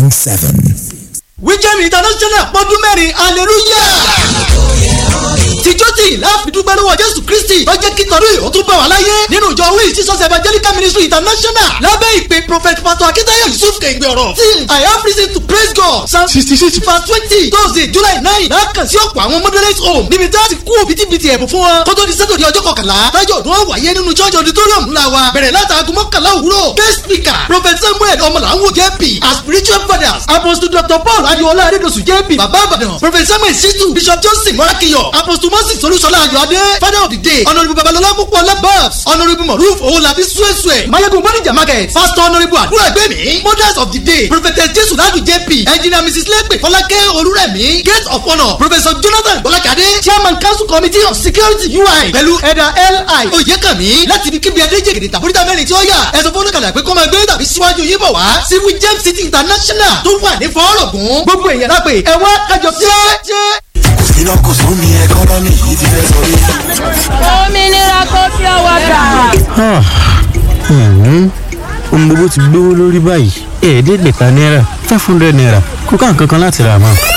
6.7. Wíjẹ́mi International pọ́dún mẹ́rin, hallelujah! Tìjọ́tì láàfin dúpẹ́ lọ́wọ́ Jésù Kristi tó jẹ́ kí tọdún yìí ó tún bá wà láyé nínú ìjọ Wíì Jesus Evangelical Ministry International lábẹ́ ìpè Prophet Pastor Akitayo Yusuf Kẹ̀gbẹ́ ọ̀rọ̀ till I have reason to praise God, Psalm 66 verse 20, Thursday July 9 lákàn sí ọ̀pọ̀ àwọn moderate home níbi tí a ti kú òbítíbitì ẹ̀bùn fún wọn kótó di sẹ́tòdì ọjọ́ 11 tájọ́ ọdún wáyé nínú church auditorium ńlá wa bẹ̀rẹ̀ látàgùn 11 òwúrọ̀. Guest speaker, Prophet Samuel Ọmọlàwọ̀ JP, as spiritual fathers, Apostle Dr. Paul Adiola Adedosu JP, Baba Ibadan, Prophet Samuel Situ, Bishop Johnson Morakiyo, Apostle Moses Olúṣọlá Ayọ̀adé, father of the day, Honourable Babalọlá Pópóọlá Babs, Honourable Moruf Owolabi Suesue, Mayegun Bonija Market, Pastor Honourable Àdúrà Gbẹ̀mí, mothers of the day, Prophetess Jesu Ladu JP, Engineer Mrs. Lepe Fọlákẹ́ Olúrẹ̀mí, gate of honour, Professor Jonathan Bọ́lákadé, chairman council committee of security UI, pẹ̀lú ẹ̀dà L.I. Oyèkànmí láti ibi kíbi Adéjègèdè tàbúrítà mẹ́rin tí ó yà, ẹ̀sọ́ fọ́nùkàlà pé kó máa gbé tàbí síwájú yín bọ̀ wá sí Wíjẹ́m City International tó wà ní fọ́ọ̀rọ̀gùn. Gbogbo èèyàn lápè ẹ wá kájọ ṣe. Iná kò sún ní ẹkọ́nọ́mì yìí ti fẹ́ sọ mí. Òmìnira kò fi ọwọ́ gbà. Ohun gbogbo ti gbówó lórí báyìí, 500 naira, 500 naira kò ká nǹkan kan láti rà mọ́.